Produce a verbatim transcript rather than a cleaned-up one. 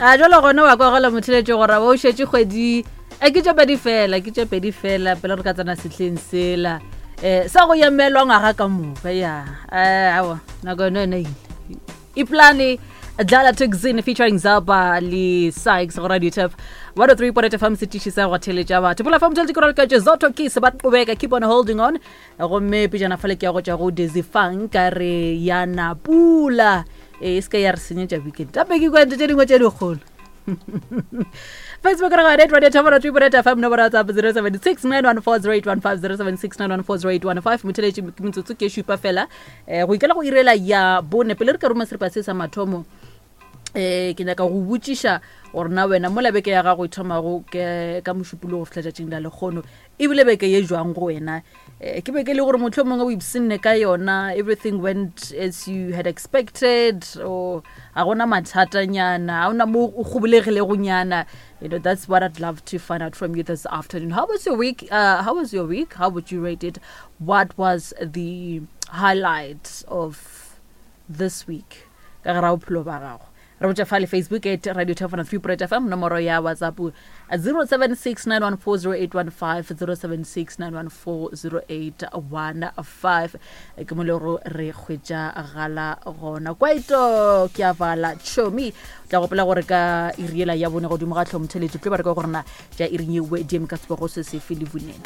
A jalo gona wa kwagala motheletše gore ba o šetše kgwedi e ke tše pedi fela, ke tše pedi fela pele re ka tsena sehleng sela um sa go emelwa ngwaga ka moka. Ya um awa, nako yone yone ile iplane. Dlala Tuxin featuring Zaba le Sykes go Radio Turf one oh three point eight F M, setiši sa go theletša batho. Pula fa motheletši ke ralokatše Zoto Keys ba qobeka Keep on Holding On, gomme pejana fale ke ya go tšwa go Dizzy Funk ka re yana pula e se ka ya re senyetša weekend tape ke kwente tše dingwe tše dikgolo. Facebook re gone Radio Turf one oh three point eight F M, nomoro ya WhatsApp zero seven six nine one four zero eight one five, zero seven six nine one four zero eight one five. Motheletši, ke metsotso ke šupa fela um go ikela go irela ya bone pele re ka roma seripa se sa mathomo. um ke nyaka go botšiša gore na wena mola beke ya gago e thomago ke ka Mošupologo go fihla tšatšing la lekgono, ebile beke ye jwang go wena? um ke beke e le gore motlho mongwe o ipsenne ka yona, everything went as you had expected, or ga gona mathatanyana, ga ona mo o kgobolegilegonyana? you know that's what I'd love to find out from you this afternoon. How was your week? uh, how was your week? How would you rate it? What was the highlight of this week ka gare ga bophelo ba gago? Re botša fa le Facebook at Radio three F M, nomoro ya WhatsApp zero seven six nine one four zero eight one five, zero seven six nine one four zero eight one five, ke mo le gore re hwetša gala gona. Kwaito ke a vala chomi, o tla gopola gore ka iriela ya bone godimo ga tlhomtheletso tlo ba re ka gorena tša iring yewe diem ka sebogo se sefe le vunene.